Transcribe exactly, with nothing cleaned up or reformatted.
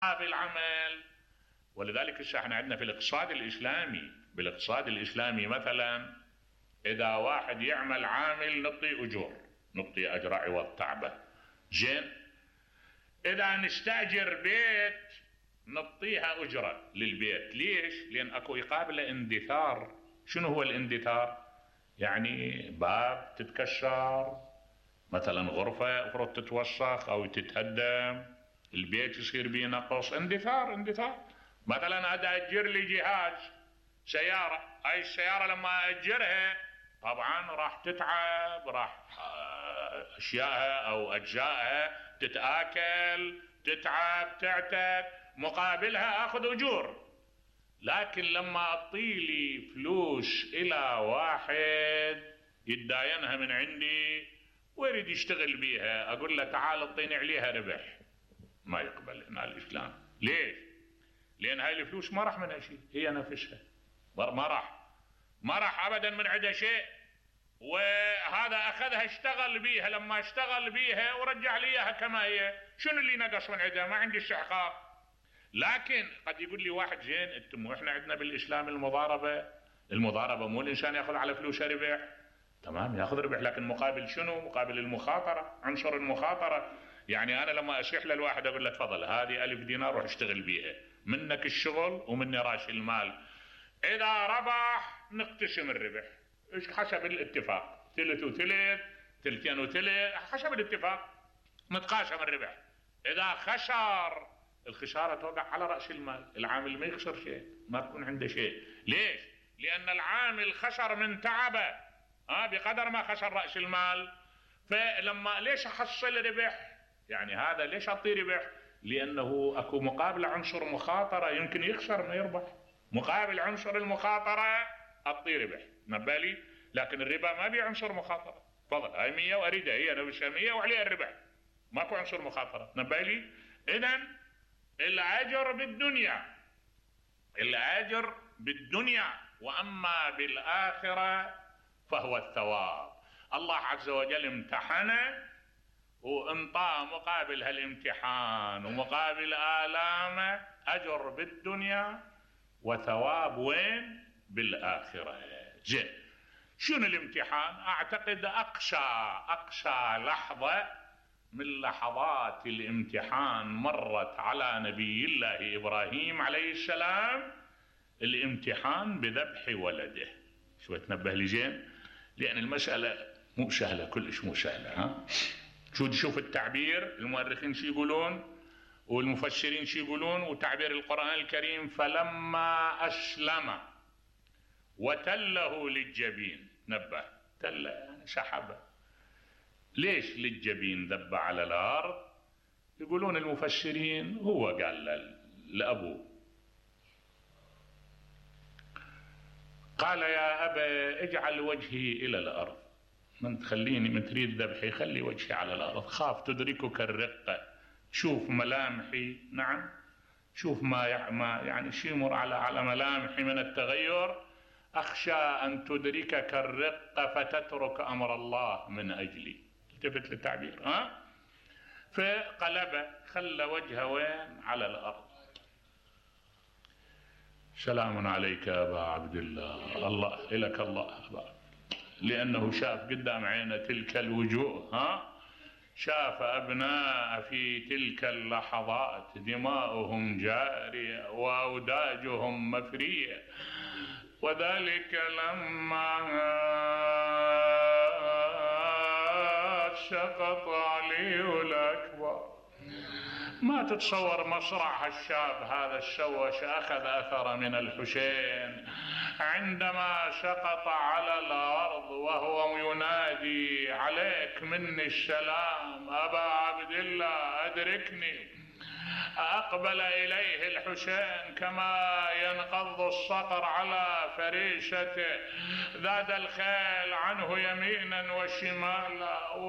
بالعمل. ولذلك احنا عندنا في الاقتصاد الاسلامي بالاقتصاد الاسلامي مثلا اذا واحد يعمل عامل نعطيه اجور، نعطيه اجر عوض تعبه. زين، اذا نستاجر بيت نعطيها اجره للبيت. ليش؟ لان اكو يقابله اندثار. شنو هو الاندثار؟ يعني باب تتكسر مثلا، غرفه افرض تتوسخ او تتهدم، البيت يصير به نقص، اندثار اندثار. مثلا هذا اجر لي جهاز سياره، هاي السياره لما اجرها طبعا راح تتعب، راح اشيائها او اجزائها تتاكل، تتعب، تعتق، مقابلها اخذ اجور. لكن لما اعطيلي فلوس الى واحد يتداينها من عندي ويريد يشتغل بيها، اقول له تعال اعطيني عليها ربح، ما يقبل هنا الاسلام. ليش؟ لان هاي الفلوس ما راح منها شيء، هي نفسها ما راح ما راح ابدا من عندها شيء، وهذا اخذها اشتغل بيها، لما اشتغل بيها ورجع لي اياها كما هي، شنو اللي نقص من عندها؟ ما عندي استحقاق. لكن قد يقول لي واحد زين انتم احنا عندنا بالاسلام المضاربه، المضاربه مو الانسان ياخذ على فلوسه ربح، تمام ياخذ ربح، لكن مقابل شنو؟ مقابل المخاطره، عنصر المخاطره. يعني انا لما اشيح للواحد اقول له تفضل هذه ألف دينار روح اشتغل بيها، منك الشغل ومني راس المال، اذا ربح نقتسم الربح حسب الاتفاق، ثلث وثلث، ثلثين وثلث، حسب الاتفاق نتقاسم الربح. اذا خسر الخساره توقع على راس المال، العامل ما يخسر شيء، ما تكون عنده شيء. ليش؟ لان العامل خسر من تعبه ها بقدر ما خسر راس المال. فلما ليش احصل ربح؟ يعني هذا ليش اعطيه ربح؟ لانه اكو مقابل عنصر مخاطره، يمكن يخسر ما يربح، مقابل عنصر المخاطره اعطيه ربح، نبالي. لكن الربا ما بي عنصر مخاطره، تفضل هاي مية واريدها هي نفسها مية وعليها الربح، ماكو عنصر مخاطره، نبالي. اذا الاجر بالدنيا، الاجر بالدنيا، واما بالاخره فهو الثواب. الله عز وجل امتحنه وانطاه مقابل هالامتحان ومقابل آلامه أجر بالدنيا وثواب وين؟ بالآخرة. زين، شنو الامتحان؟ أعتقد أقسى أقسى لحظة من لحظات الامتحان مرت على نبي الله إبراهيم عليه السلام الامتحان بذبح ولده. شو تنبه لي زين؟ لأن المسألة مو سهلة، كلش مو سهلة. ها شو شوف التعبير، المؤرخين شو يقولون والمفسرين شو يقولون، وتعبير القرآن الكريم فلما أسلم وتله للجبين، نبه تله يعني سحبه. ليش للجبين ذب على الأرض؟ يقولون المفسرين هو قال لأبوه، قال يا أبا اجعل وجهي إلى الأرض، من تخليني من تريد ذبحي خلي وجهي على الأرض، خاف تدركك الرقة، شوف ملامحي، نعم شوف ما يعني شي يمر على على ملامحي من التغير، أخشى أن تدركك الرقة فتترك أمر الله من أجلي. التفت للتعبير. ها فقلبه خلى وجهه وين؟ على الأرض. سلام عليك يا أبا عبد الله، الله إلك الله أبا، لأنه شاف قدام عينه تلك الوجوه، ها شاف أبناء في تلك اللحظات دماؤهم جارية وأوداجهم مفرية، وذلك لما سقط علي الأكبر. ما تتصور مصرع الشاب هذا الشوش أخذ أثر من الحسين عندما سقط على الأرض وهو ينادي عليك مني السلام أبا عبد الله أدركني. أقبل إليه الحسين كما ينقض الصقر على فريشته، ذاد الخيل عنه يمينا وشمالا